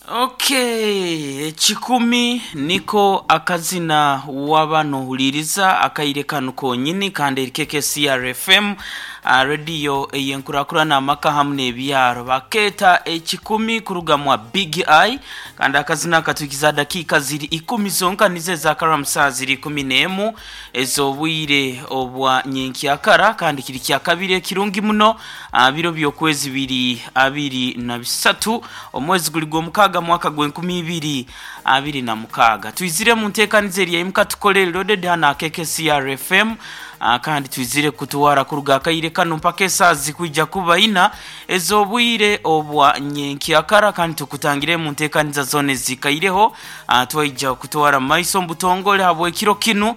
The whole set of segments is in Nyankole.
Okay, ekikumi niko akazina waba nohuliriza akaire kanu konyini kandi eri KKCR FM rediyo eyenkurakurana amaka hamu n'ebyaro bakeeta ekikumi kuruga mwa Big Eye kandi akazina katuhikiza dakiika ziri ikumi zonka nizo ezakaramu saaha ziri 11 ez'obwire obwa nyenkyakara kandi kiri kyakabiri ekirungi muno biro by'okwezi biri abiri na bisatu omwezi guri gw'omukaaga mwaka gw'enkumi ibiri abiri na mukaaga. Twizire mu nteekaniza eri yaimuka tukore loaded hano aha KKCR FM kandi twizire kutwara kuruga akaire kanu mpaka esaaha zikwija kuba ina ez'obwire obwa nyenkyakara kandi tukutangire mu nteekaniza zoona ezikaireho twaija kutwara mu maiso omu butongore habw'ekiro kinu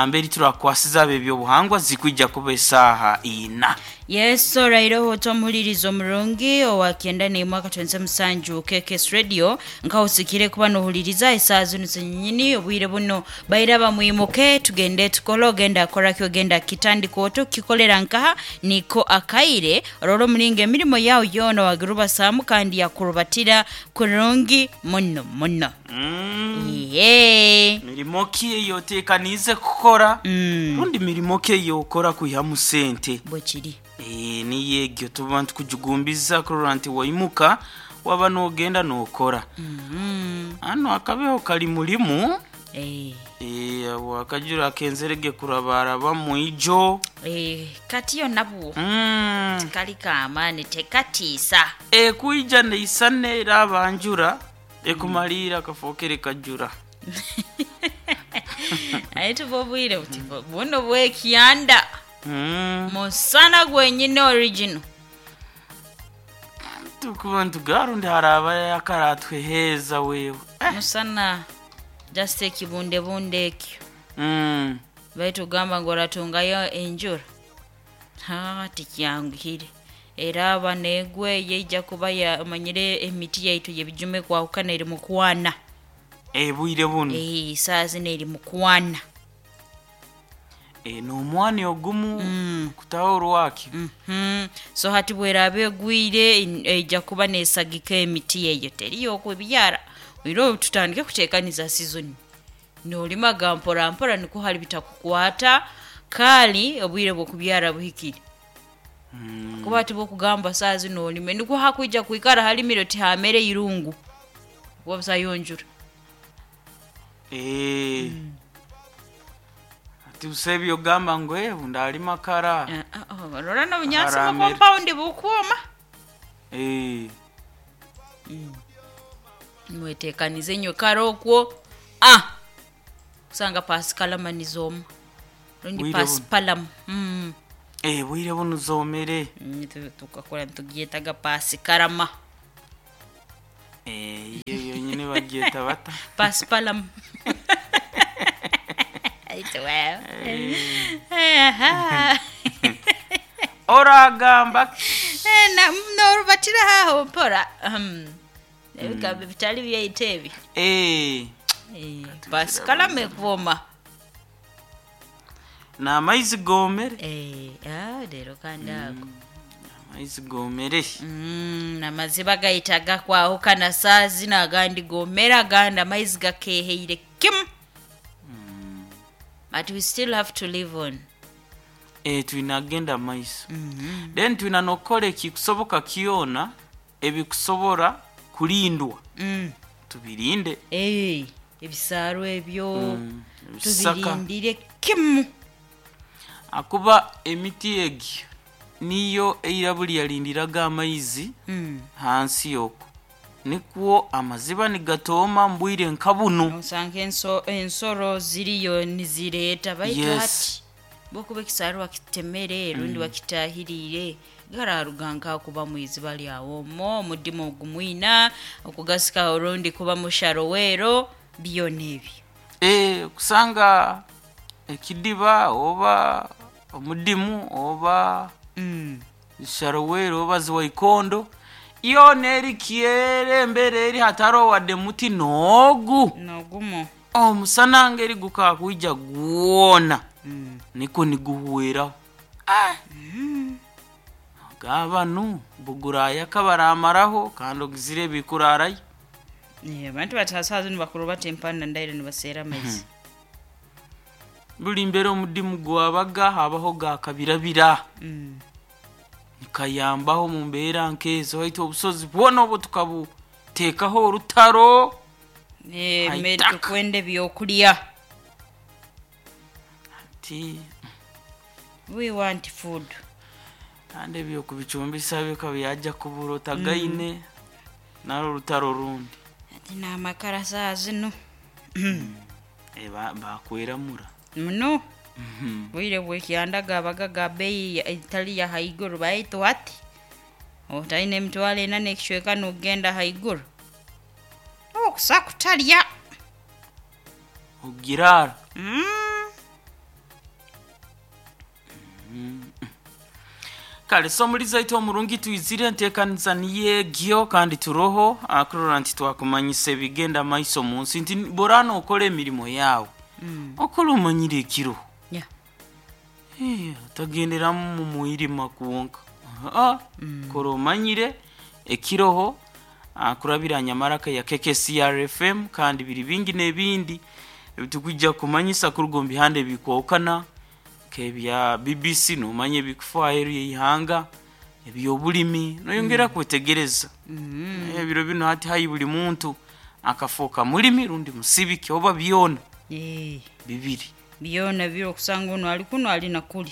mberi turakwasiza ab'ebyobuhangwa zikwija kuba esaaha ina. Yesu oraireho ota omuhuririza omurungi owa kyenda n'emwe akatwenze musanju KKS Radio nkahusikire kuba nohuririza esaaha zinu zenyini obwire buno baira bamwimuke tugende tukole ogenda akoraki ogenda kitandika ota okukikolera nkaha niko akaire orore omuringo emirimo yawe yoona wagirubasaamu kandi yakurubatira kurungi muno muno. Iye. Mirimo ki ei oteekaniize kukora rundi mirimo ki ei okora kwihamu sente? Bwekiri. Niyo egyo tuba nitukugigumbiza kurora nti waimuka waba nogenda nokora. Hanu akabeho kari murimu akajura akenzerege kurabarabamu ijo. Kati yo nabwo tikari k'amaani tekatiisa. Ekwija neisana eraba njura ekumaliira kafookere kajura. Aye tuba obwire buti buno bw'ekyanda musana gwenyine original. Tukuba nitugira rundi harabayo akaratweheeza wewe. Musana just ekibundebunde ekyo. Baitu ogamba ngu oratungayo enjura haa tikyanguhire. Eraaba neegwa eyo eija kuba omanyire emiti yaitu y'ebijuma ekwahukana eri mu kwana. Obwire bunu. Saaha zinu eri mu kwana. N'omwani ogumu kutaho orwakyo. So hati bweraaba egwire eija kuba neesagika emiti eyo teriyo okubyara. Oihireho tutandike kuteekaniza sizoni. Noorimaga mpora mpora nikwo hari bitakukwata kaari obwire bw'okubyara buhikire. Kuba hati bw'okugamba saaha zinu orime nikwo hakwija kwikara harimire oti haamera eirungu kuba busayo njura. Hati busa ebyogamba ngu ndarima kara. Orora n'obunyaatsi bwa kompawundi bukwoma. Mweteekanize inywe kare okwo kusanga pasikalama nizooma rundi Bwire buno. pasipalamu. Obwire bunu zoomere. Tukakura nitugyetaga pasikarama. Iyo yonyine bagyeta bata? Pasipalamu. Baitu wewe. Oragamba ki? Norubatira haho mpora. Ebigambo bitari byaitu ebi. Pasikalama ekwoma. N'amaizi goomere. Reero kandi ago. Amaizi goomere. Amaziba gaitu agakwahukana saaha zinu agandi goomere agandi amaizi gakeeheire kimu. But we still have to live on. Twine kugenda omu maiso. Then twine n'okukora ekikusoboka kyona ebikusobora kurindwa tubirinde. Ebisaaro ebyo Ebisaka. tubirindire kimu. Ahakuba emiti egyo niyo eira buri yarindiraga amaizi hansi okwo. Nikwo amaziba nigatooma omu bwire nka bunu. Osanga ensoro ziriyo nizireeta baitu hati bwokuba ekisaaro wakitemere rundi wakitaahiriire gararuga nkaha kuba mwiziba ryawe omwo omudimu ogumwina okugasika orundi kuba musharoweero byona ebyo. Kusanga ekidiba oba omudimu oba sharowero oba ziwaikondo yoona eri kyere embera eri hatariho wadde muti n'ogu. N'ogumu. Omusana ngeri gukakwija gwona nikwo niguhweraho. Gaba banu bugurayaka baramaraho kandi ogizire bikuraarayo. Eh, abantu bati ha saaha zinu bakuru bati empanda ndaire nibaseera amaizi. Buli mbere omudimu gwabaga habaho gakabirabira. Nikayambaho mu mbeera nkezo, waitu obusozi bwona obwo tukabuteekaho orutaro. Eh, Haitaka. mmere tukwenda ebyokulya. Ti We want food. Kandi ebyokubicumbisa bikaba byajja kubura otagaine naro orutaro rundi. Ati n'amakara saaha zinu. Eh, bakweramura. Muno. Bwire bw'ekyanda gabaga ga beeyi etali ya haiguru, baitu hati otaine 40,000 n'ekicweka n'ogenda haiguru. Okusa kutarya. Ogirara. Kale so muri zaitu omurungi twizire enteekaniza niyo egyo, kandi turoho akurora nti twakumanyisa ebigenda maiso mu nsi, nti borana okora emirimo yaawe, okora omanyire ekiro. Eh, otagenderamu mu mwirima kwonka. Aa, kora omanyire ekiroho kurabira nyamaraka ya KKCRFM, kandi biri bingi n'ebindi ebitukwijja kumanyisa kuruga omu bihanda ebikwokana nk'ebya BBC, nomanya ebikufa aheeru y'eihanga, eby'obulimi, noyongera kwetegereza. Ebiro binu hati hayi buli muntu akafooka mulimi rundi musibiki oba byona. Eh, bibiri. Byona biri okusanga ono ali kuno ali na kuli.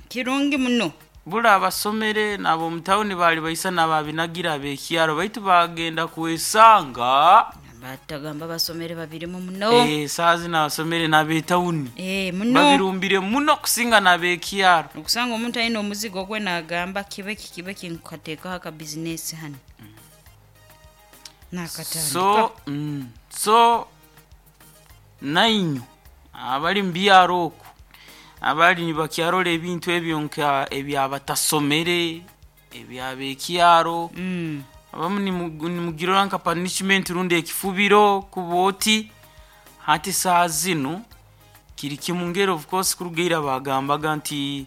Kirungi muno. Bula abasomere n'ab'omu tawuni baali baisa n'ababinagira ab'ekyaro, baitu bagenda kwesanga. Batagamba basomere babirimu muno. Eh, saaha zino abasomere n'ab'etawuni Eh, muno. babirumbire muno kusinga n'ab'ekyaro. Okusanga omuntu aine omuzigo gwe nagamba kibeki kibeki nkukateekaho akabizinesi hano. Nakatandika. So nainyu abali mu byaro oku abali nibakyarora ebintu ebyo nka ebyabatasomere ebyabekyaro, abamu nimugirora nka punishment rundi ekifubiro kuba oti hati saa zinu kiri kimu ngeri. Of course kurugaira bagambaga nti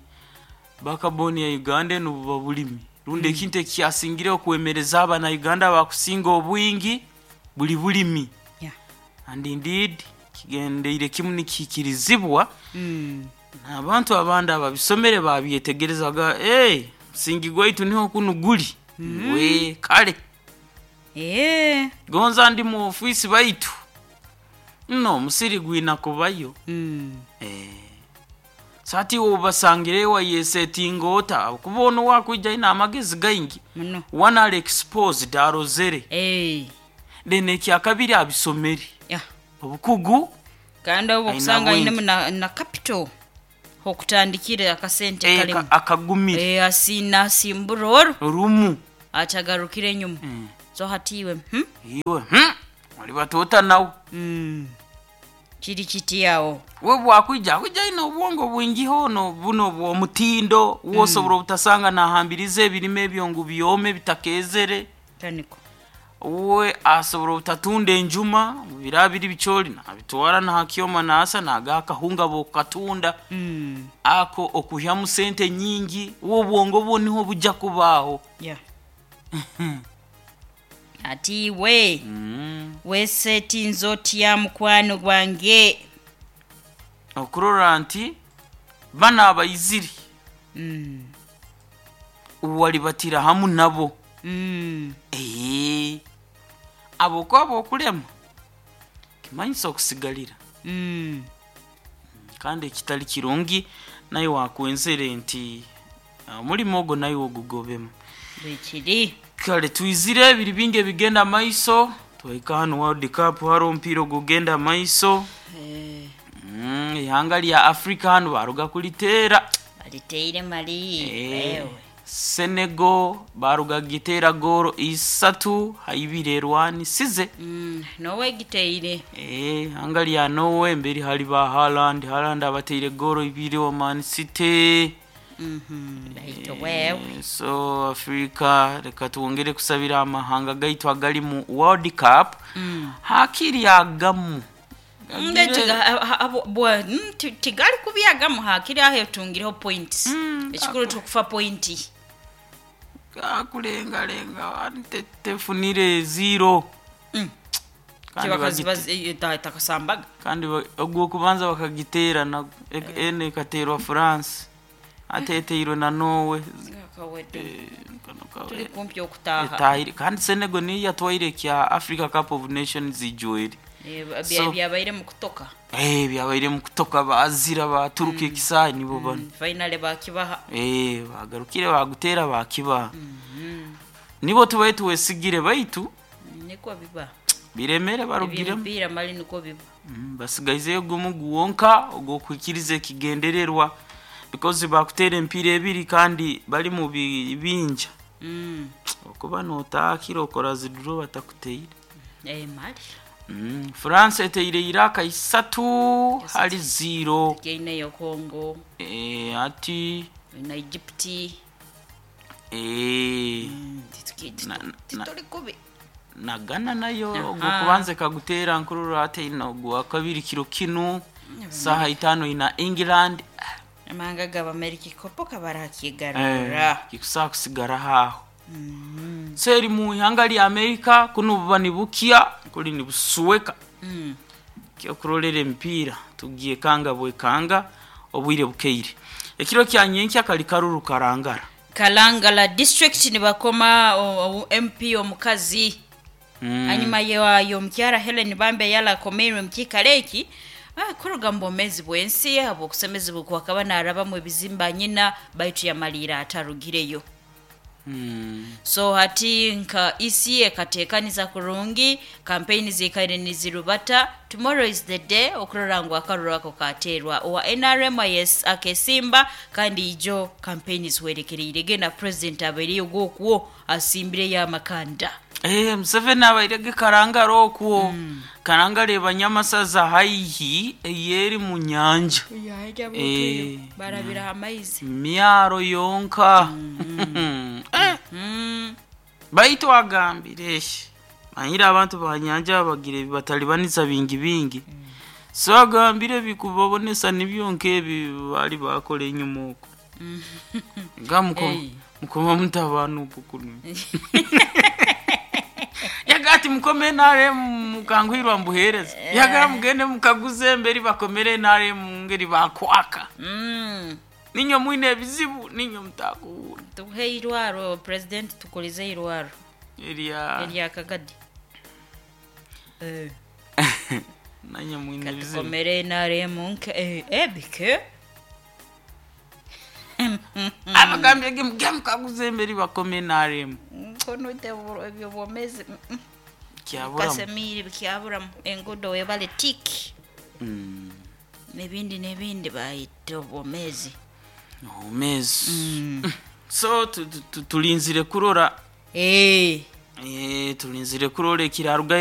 bakaboni ya Uganda enu buba bulimi rundi ekintu ekyasingireho okwemereza abana Uganda bakusinga obwingi buli bulimi. And indeed kigendeire kimu nikihikirizibwa. Abantu abandi ababisomere babyetegerezaga, hey, musingi gwaitu niho kunu guli we kale. Eh. Gonza ndi mu ofisi, baitu nno omusiri gwina kubayo. Eh. Sati obasangire wayesetinga ota kuba ono wakwija aine amagezi gaingi. Muno. One ali exposed arozere. Eh. Then ekyakabiri abisomere. Obukugu. Kandi obwo Aina okusanga bwingi. ainemu na capital okutandikira akasente Eh, kalimu. Akagumire. Eh, asina asimbura oru Orumu. atagarukire enyuma. So hati iwe Iwe oli batoota nawe. Kiri kiti awo. We bwakwija akwija aine obwongo bwingi hono buno bw'omutindo wosobora obutasanga nahambiriza ebirime ebyo ngu byome bitakezere. Taniko. We asobora obutatunda enjuma bira biri bikyoli nabitwara nahakyoma nasa naga akahunga bokatunda. Ako okuhyamu sente nyingi, wo obwongo bwo niho bujja kubaaho. Yeah. Ati iwe wesetinze otya mukwano gwange? Okurora nti bano abaiziri walibatira hamu nabo. Ee, abo kwaba okulema kimanyisa okusigalira. Kandi ekitali kirungi naye wakwenzere nti omulimu ogwo naye ogugobemu. Bwekiri. Kale twizire ebiri bingi ebigenda maiso, twahika hano World Cup hariho omupiira ogugenda maiso. Eh, Ihanga lya Africa hano baruga kuliteera. Baliteire mali. Eh, Ewe. Senegal baruga giteera goolo 3-2 erwanisize. Nowe giteire. Eh, ihanga lya Norway mberi hali ba Haaland, Haaland abateire goolo 2 wa Man City. Baito wewe. Eh, so Africa reka twongere kusabira amahanga gaitu agali mu World Cup hakiri agamu. Tigali kubyagamu hakiri aho etungireho points. Ekikuru tukufa pointi. Gakulengalenga tefunire zero. Kandi Kibakazi takasambaga. Kandi ogw'okubanza bakagiteera na ene ekateerwa France, ate eteirwe na Norway. Kawedde. Kano Tuli kumpi okutaaha. Etahire kandi Senegal niyo yatwaire kya Africa Cup of Nations ijwere. Byabaire mu kutoka. Byabaire mu kutoka, bazira baturuka ekisaayi nibo bano. Finally bakibaha. Bagarukire bagutera bakibaha. Nibo tubaye tuwesigire baitu Niko biba. Biremere barugiremu. Eby'emipiira mali niko biba. Basigaizeyo gumu guwonka ogw'okwikiriza ekigendererwa because bakutera empiira ebiri kandi bali mu bibinja. Okuba notaakira okora ziduro batakuteire. Mali. France eteire Iraq 3 hali 0. Tukiineyo Congo. Ati na Egypt. Tituli kubi. Na Ghana nayo ogwokubanza ekagutera nkururu ate ina ogwa kabiri kiro kinu saha 5 ina England. Amahanga g'Abamerika ikopo kabarakigarura. Kikusaa kusigara haho. Seri mu ihanga lya Amerika kuno buba nibukia kuli nibusuweka. Kyokurolera emipiira tugiye kanga bwekanga obwire bukeire. Ekiro kya nyenkya kali karuru karangara. Kalangala district nibakoma MP omukazi. Hanyuma y'omukyara Helen Bambe yala akomeirwe mu kiikaro eki, kuruga mu bwomeezi bw'ensi habw'okusemezibwa kwakaba naarabamu ebizimba nyina baitu yamaliira atarugireyo. So hati nka EC ekateekaniza kurungi, campaign ziikaire nizirubata. Tomorrow is the day okurora ngu akaruru ako kateerwa owa NRM akesimba kandi ijo campaign zihwerekereire genda president abaireyo gwokwo asimbireyo amakanda. Museveni abairege Karangara okwo. Karangara eba Nyamasaza haihi eyeri mu nyanja. Barabira amaizi. Myaro yonka. Baitu agambire manyire abantu ba nyanja bagire batalibaniza bingi bingi. So agambire bikubabonesa nibyo nkebi bali bakora enyuma okwo. Nga mukoma mutabanu pukunu. Yagati mukome NRM mukangwirwa mbuhereza. Yaga mugende mukaguze emberi bakomere NRM ngeri bakwaka. Ninyo mwine ebizibu ninyo mutakuwura. Tuhe irwaro president tukulize irwaro. Erya Kagadi. Nanyo mwine ebizibu. Katukomere NRM nke ebike. Abagambye ge mukaguze emberi bakome NRM. Kono te ebyo bwomezi. Kyaburamu. Kasemiri kyaburamu engudo webale tiki. Nebindi nebindi bayita obwomezi. Obwomezi. So tulinzire kurora. Tulinzire kurora ekiraruga.